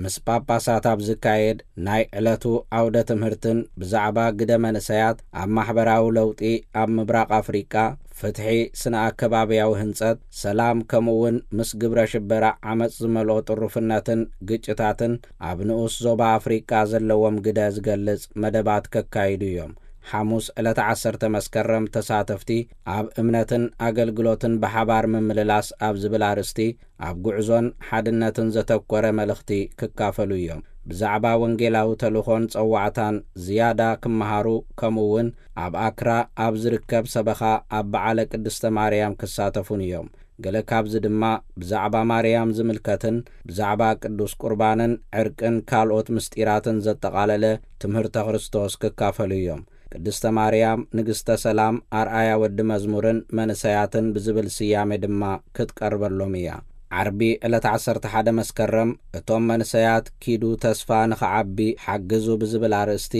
ምስ ጳጳሳት ኣብ ዝካየድ ናይ ዕለቱ ዓውደ ትምህርትን ብዛዕባ ግደ መንእሰያት ኣብ ማሕበራዊ ለውጢ ኣብ ምብራቕ ኣፍሪቃ፣ ፍትሒ፣ ስነ ኣከባብያዊ ህንጸት፣ ሰላም፣ ከምኡ እውን ምስ ግብረ ሽበራ ዓመጽ ዝመልኦ ጥሩፍነትን ግጭታትን ኣብ ንኡስ ዞባ ኣፍሪቃ ዘለዎም ግደ ዝገልጽ መደባት ከካይዱ እዮም። ሓሙስ ዕለተ ዓሰርተ መስከረም ተሳተፍቲ ኣብ እምነትን ኣገልግሎትን ብሓባር ምምልላስ ኣብ ዝብል ኣርእስቲ ኣብ ጉዕዞን ሓድነትን ዘተኮረ መልእኽቲ ክካፈሉ እዮም። ብዛዕባ ወንጌላዊ ተልእኾን ጸዋዕታን ዝያዳ ክመሃሩ፣ ከምኡ እውን ኣብ ኣክራ ኣብ ዝርከብ ሰበኻ ኣብ በዓለ ቅድስተ ማርያም ክሳተፉን እዮም። ገለ ካብዚ ድማ ብዛዕባ ማርያም ዝምልከትን ብዛዕባ ቅዱስ ቁርባንን ዕርቅን ካልኦት ምስጢራትን ዘጠቓለለ ትምህርተ ክርስቶስ ክካፈሉ እዮም። ቅድስተ ማርያም ንግስተ ሰላም፣ ኣርኣያ ወዲ መዝሙርን መንእሰያትን ብዝብል ስያሜ ድማ ክትቀርበሎም እያ። ዓርቢ ዕለት ዓሰርተ ሓደ መስከረም እቶም መንእሰያት ኪዱ ተስፋ ንኽዓቢ ሓግዙ ብዝብል ኣርእስቲ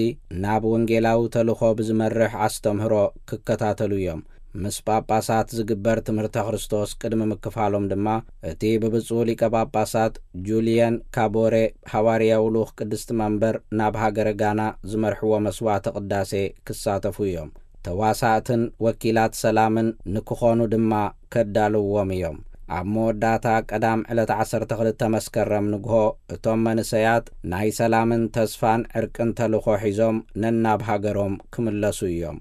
ናብ ወንጌላዊ ተልእኾ ብዝመርሕ ኣስተምህሮ ክከታተሉ እዮም። ምስ ጳጳሳት ዝግበር ትምህርተ ክርስቶስ ቅድሚ ምክፋሎም ድማ እቲ ብብፁዕ ሊቀ ጳጳሳት ጁልየን ካቦሬ፣ ሃዋርያዊ ልኡኽ ቅድስቲ መንበር ናብ ሃገረ ጋና፣ ዝመርሕዎ መስዋዕተ ቅዳሴ ክሳተፉ እዮም። ተዋሳእትን ወኪላት ሰላምን ንክኾኑ ድማ ከዳልውዎም እዮም። ኣብ መወዳእታ ቀዳም ዕለት ዓሰርተ ክልተ መስከረም ንግሆ እቶም መንእሰያት ናይ ሰላምን ተስፋን ዕርቅን ተልእኾ ሒዞም ነናብ ሃገሮም ክምለሱ እዮም።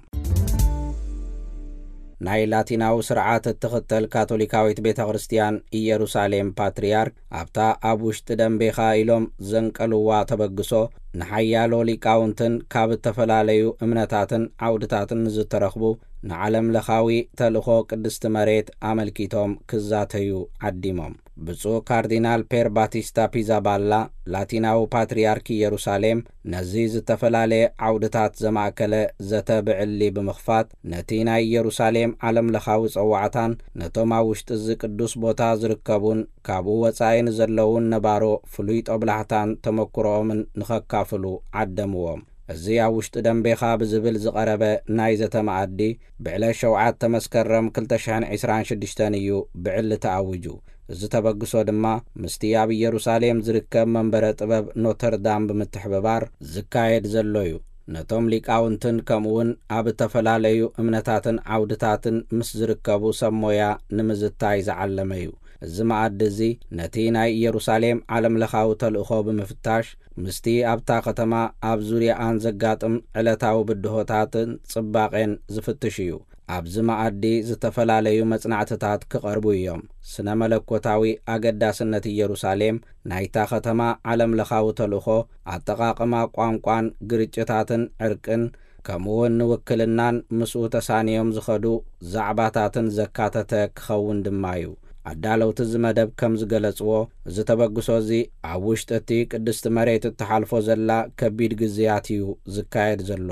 ናይ ላቲናዊ ስርዓት እትኽተል ካቶሊካዊት ቤተ ክርስቲያን ኢየሩሳሌም ፓትርያርክ፣ ኣብታ ኣብ ውሽጢ ደንቤኻ ኢሎም ዘንቀልዋ ተበግሶ፣ ንሓያሎ ሊቃውንትን ካብ እተፈላለዩ እምነታትን ዓውድታትን ንዝተረኽቡ ንዓለም ለኻዊ ተልእኾ ቅድስቲ መሬት ኣመልኪቶም ክዛተዩ ዓዲሞም። ብፁዕ ካርዲናል ፔር ባቲስታ ፒዛባላ፣ ላቲናዊ ፓትርያርክ ኢየሩሳሌም፣ ነዚ ዝተፈላለየ ዓውድታት ዘማእከለ ዘተ ብዕሊ ብምኽፋት፣ ነቲ ናይ ኢየሩሳሌም ዓለም ለኻዊ ጸዋዕታን ነቶም ኣብ ውሽጢ እዚ ቅዱስ ቦታ ዝርከቡን ካብኡ ወጻኢ ንዘለዉን ነባሮ ፍሉይ ጦብላሕታን ተመክሮኦምን ንኸካፍሉ ዓደምዎም። እዚ ኣብ ውሽጢ ደንቤኻ ብዝብል ዝቐረበ ናይ ዘተ መኣዲ፣ ብዕለት ሸውዓተ መስከረም ክልተ ሽሕን ዕስራን ሽዱሽተን እዩ ብዕሊ ተኣዊጁ። እዚ ተበግሶ ድማ ምስቲ ኣብ ኢየሩሳሌም ዝርከብ መንበረ ጥበብ ኖተርዳም ብምትሕብባር ዝካየድ ዘሎ እዩ። ነቶም ሊቃውንትን ከምኡውን ኣብ እተፈላለዩ እምነታትን ዓውድታትን ምስ ዝርከቡ ሰብ ሞያ ንምዝታይ ዝዓለመ እዩ። እዚ መኣዲ እዚ ነቲ ናይ ኢየሩሳሌም ዓለም ለኻዊ ተልእኾ ብምፍታሽ፣ ምስቲ ኣብታ ከተማ ኣብ ዙርያኣን ዘጋጥም ዕለታዊ ብድሆታትን ጽባቄን ዝፍትሽ እዩ። ኣብዚ መኣዲ ዝተፈላለዩ መጽናዕትታት ክቐርቡ እዮም። ስነ መለኮታዊ ኣገዳስነት ኢየሩሳሌም፣ ናይታ ከተማ ዓለም ለኻዊ ተልእኾ፣ ኣጠቓቕማ ቋንቋን ግርጭታትን ዕርቅን፣ ከምኡውን ንውክልናን ምስኡ ተሳንዮም ዝኸዱ ዛዕባታትን ዘካተተ ክኸውን ድማ እዩ። ኣዳለውቲ እዚ መደብ ከም ዝገለጽዎ፣ እዚ ተበግሶ እዚ ኣብ ውሽጢ እቲ ቅድስቲ መሬት እትሓልፎ ዘላ ከቢድ ግዝያት እዩ ዝካየድ ዘሎ።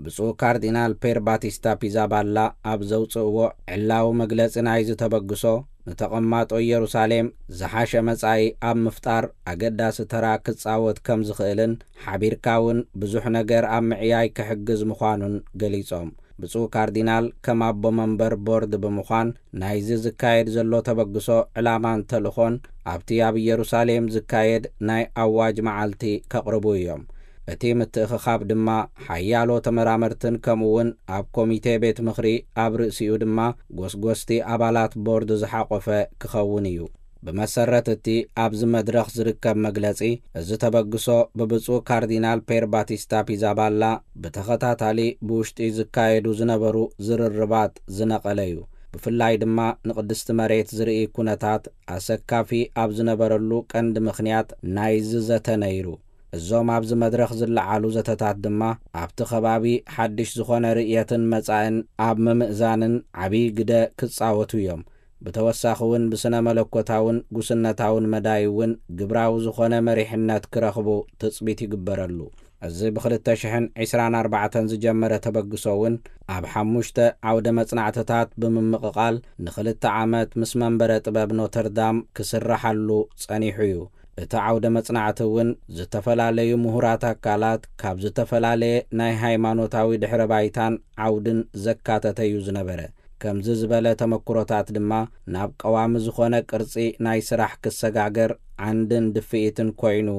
ብፁዕ ካርዲናል ፔር ባቲስታ ፒዛባላ ኣብ ዘውጽእዎ ዕላዊ መግለጺ ናይዚ ተበግሶ፣ ንተቐማጦ ኢየሩሳሌም ዝሓሸ መጻኢ ኣብ ምፍጣር ኣገዳሲ ተራ ክጻወት ከም ዝኽእልን፣ ሓቢርካ እውን ብዙሕ ነገር ኣብ ምዕያይ ክሕግዝ ምዃኑን ገሊጾም። ብፁዕ ካርዲናል ከም ኣቦ መንበር ቦርድ ብምዃን፣ ናይዚ ዝካየድ ዘሎ ተበግሶ ዕላማን ተልእኾን ኣብቲ ኣብ ኢየሩሳሌም ዝካየድ ናይ ኣዋጅ መዓልቲ ከቕርቡ እዮም። እቲ ምትእኽኻብ ድማ ሓያሎ ተመራመርትን ከምኡውን ኣብ ኮሚቴ ቤት ምኽሪ ኣብ ርእሲኡ ድማ ጎስጎስቲ ኣባላት ቦርድ ዝሓቖፈ ክኸውን እዩ። ብመሰረት እቲ ኣብዚ መድረኽ ዝርከብ መግለጺ፣ እዚ ተበግሶ ብብፁዕ ካርዲናል ፔር ባቲስታ ፒዛባላ ብተኸታታሊ ብውሽጢ ዝካየዱ ዝነበሩ ዝርርባት ዝነቐለ እዩ። ብፍላይ ድማ ንቅድስቲ መሬት ዝርኢ ኩነታት ኣሰካፊ ኣብ ዝነበረሉ ቀንዲ ምኽንያት ናይዚ ዘተ ነይሩ። እዞም ኣብዚ መድረኽ ዝለዓሉ ዘተታት ድማ ኣብቲ ከባቢ ሓድሽ ዝኾነ ርእየትን መጻእን ኣብ ምምእዛንን ዓብዪ ግደ ክጻወቱ እዮም። ብተወሳኺ እውን ብስነ መለኮታውን ጉስነታውን መዳይ እውን ግብራዊ ዝኾነ መሪሕነት ክረኽቡ ትጽቢት ይግበረሉ። እዚ ብክልተ ሽሕን ዕስራን ኣርባዕተን ዝጀመረ ተበግሶ እውን ኣብ ሓሙሽተ ዓውደ መጽናዕትታት ብምምቕቓል ንኽልተ ዓመት ምስ መንበረ ጥበብ ኖተርዳም ክስረሓሉ ጸኒሑ እዩ። እቲ ዓውደ መጽናዕቲ እውን ዝተፈላለዩ ምሁራት ኣካላት ካብ ዝተፈላለየ ናይ ሃይማኖታዊ ድሕረ ባይታን ዓውድን ዘካተተ እዩ ዝነበረ። ከምዚ ዝበለ ተመክሮታት ድማ ናብ ቀዋሚ ዝኾነ ቅርጺ ናይ ስራሕ ክሰጋገር ዓንድን ድፍኢትን ኮይኑ